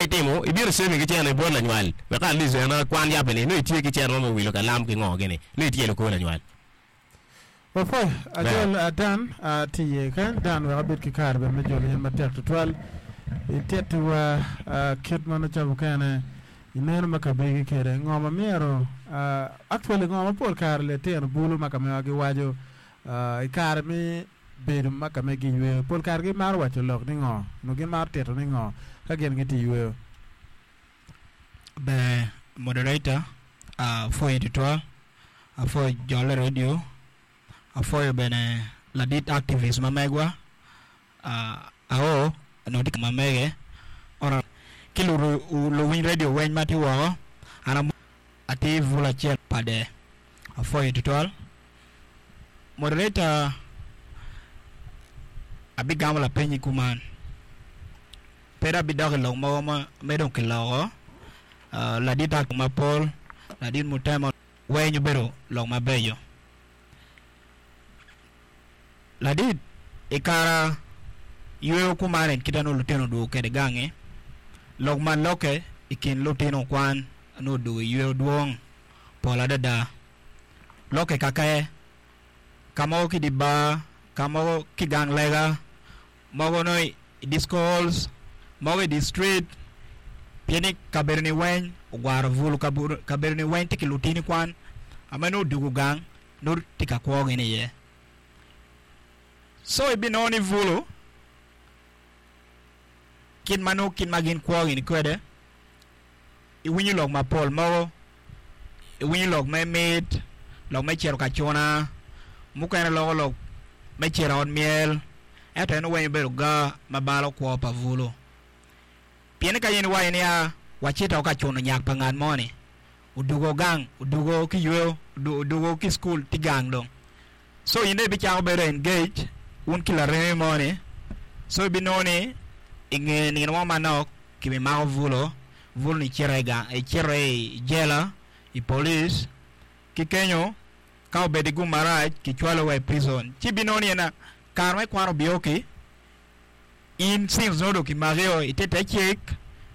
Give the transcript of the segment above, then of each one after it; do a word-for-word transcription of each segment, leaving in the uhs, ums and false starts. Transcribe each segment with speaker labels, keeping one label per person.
Speaker 1: itimo ibino saving ki cene bot lanywal wek at least en kwan yabe ni nongo itye ki cene mo me wilo kalam ki ngo gini nongo itye kor lanywal.
Speaker 2: Wapwoyo ajol uh, Dan uh, tye iye kany Dan wek abed ki kare bene me jolo in matek tutwal itittiwa uh, kit ma nongo ca mukene ineno ma kabegi kede ngo ma myero uh, actually ngo ma pol kare litino bulu ma ka mewa giwaco uh, i kare me bedo ma ka megi yweyo pol kare gimaro waco lok ni ngo nyo gimaro tito ni ngo ka gin gitye yweyo.
Speaker 3: Ber moderator apwoyo tutwal apwoyo jol i radio apwoyo bene ladit activist ma megwa ao onongo tye ma mege ki luwiny radio weng ma tye woko an atye bulu acel pa apwoyo tutwal moderator abigamo lapeny kuman pe dong abidok i lok mogo ma dong kiloko ladit mapol ladit mutemo weng obedo lok mabeco ladit i kare yweyo kuman kit ma nongo lutino odwogo kwede gangi lok ma lokke i kin lutino kwan nongo odwogo i yweyo dwong pol adada lokke kakaye ka mogo ki i di bar ka mogo ki gang lega mogo nongo i disco halls mogo i di street pien ni kabedo ni weng ogwaro bulu kabedo ni weng tye ki lutini kwan ame nongo odwogo gang nongo tye ka kwo gini iye so ibinongo ni bulu kit ma nongo kit ma gin kwo gini kwede iwinyo lok mapol mogo iwinyo lok me mit lok me cito ka cuna mukene loko lok me cito i ot myel ento en weng obedo ga ma balo kwo pa bulu pien ka in iwaco niya wacito ka cuno nyak pa ngat mo-ni odwogo gang odwogo ki yweyo odwogo ki cukul tye gang dong so in dong ibicako bedo engage wun ki laremi mo-ni so ibinongo ni i nge nino mo manok kibimako bulu bulu-ni cito i jela i police ki kenyo ka obedo i gum marac kicwalo wa i prison ci ibinongo ni en kare me kwan obioki in since nongo dong kimakio itye te cik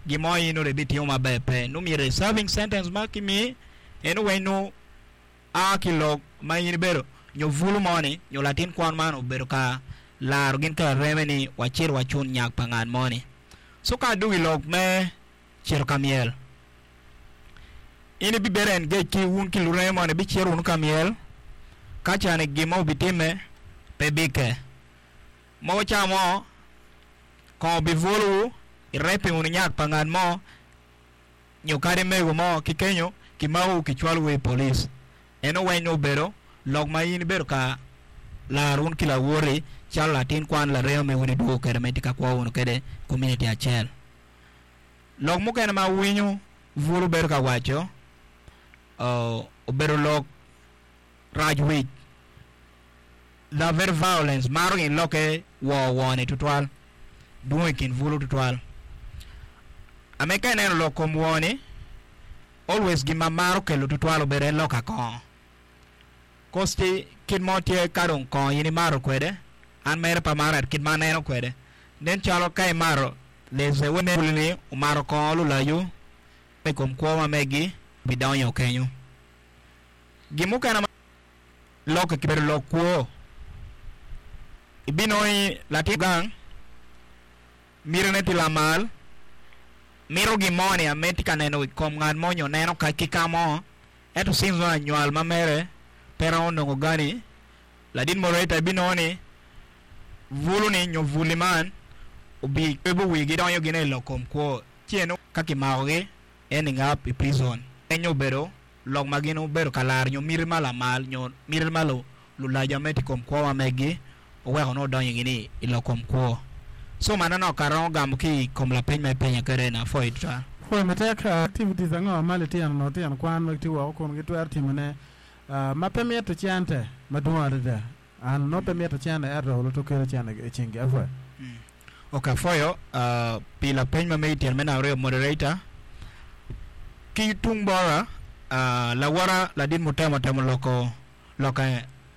Speaker 3: gin mo in nongo dong ibitimo maber pe nongo myero i serving sentence ma kimii eno weng nongo a ki lok ma in ibedo nyo bulu mo-ni nyo latin kwan man obedo ka laro gin ki lareme ni wacit wacun nyak pa ngat mo-ni so ka adwogo i lok me cito ka myel in ibibedo engage ki wun ki lureme moni ibicito wunu ka myel ka cani gin mo obitimme pe bikke mogo ca mo kongo obibwolowu ireping wunu nyak pa ngat mo nyo kadi mego mo ki kenyo kimakowu kicwalowu i police eno weng nongo obedo lok ma in ibedo ka laro wun ki lawoti calo latin kwan laremi ma wun idwogo kwede ma itye ka kwo wunu kwede community acel lok mukene ma awinyo bulu bedo ka waco obedo lok rac wic they are very violence maro gin lokke wo wo-ni tutwal dwong i kin bulu tutwal ame ka ineno lok kom wo-ni always gin ma maro kelo tutwal obedo en lok akongo kosti kit mo tye ka dong kongo in imato kwede an mere pe amaro ento kit ma aneno kwede nen calo ka imato there's a way bulu-ni omato kongo lulacu i kom kwo ma megi bidonyo kenyo gin mukene ma lokke kibedo lok kwo ibinongo ni latin gang mitine tye lamal mito gin mo ni ame tye ka neno i kom ngat mo nyo neno ki ka mo ento since nongo anywal ma mere pe romo nongo gani ladit moderator ibinongo ni bulu-ni nyo buli man obikebo wigi donyo gine i lok kom kwo ci eno ka kimakogi ending up i prison enyo obedo lok ma gin obedo ka laro nyo miti ma lamal nyo miti ma lulaca me tye i kom kwo ma megi oweko nongo odonyo gini i lok kom kwo so manonok ka romo gamo ki i kom lapeny ma ipenya kwede ni apwoyo tutwal.
Speaker 2: Pwoyo matek activities ango ma litino lutino kwan ma gitye woko kun gitwero timone ma pe mito cente madwong adada an nongo pe mito cente ento olo to kelo cente i cingi apwoyo.
Speaker 3: Ok apwoyo pi lapeny ma megi tyen me namba aryo moderator ki tung bota lawota ladit mutemo temo loko loko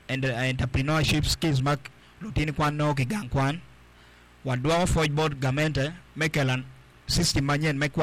Speaker 3: entrepreneurship skills ma lutini kwan nongo ki gang kwan wadwoko pwoc bot gamente me kelo system manyen me kwan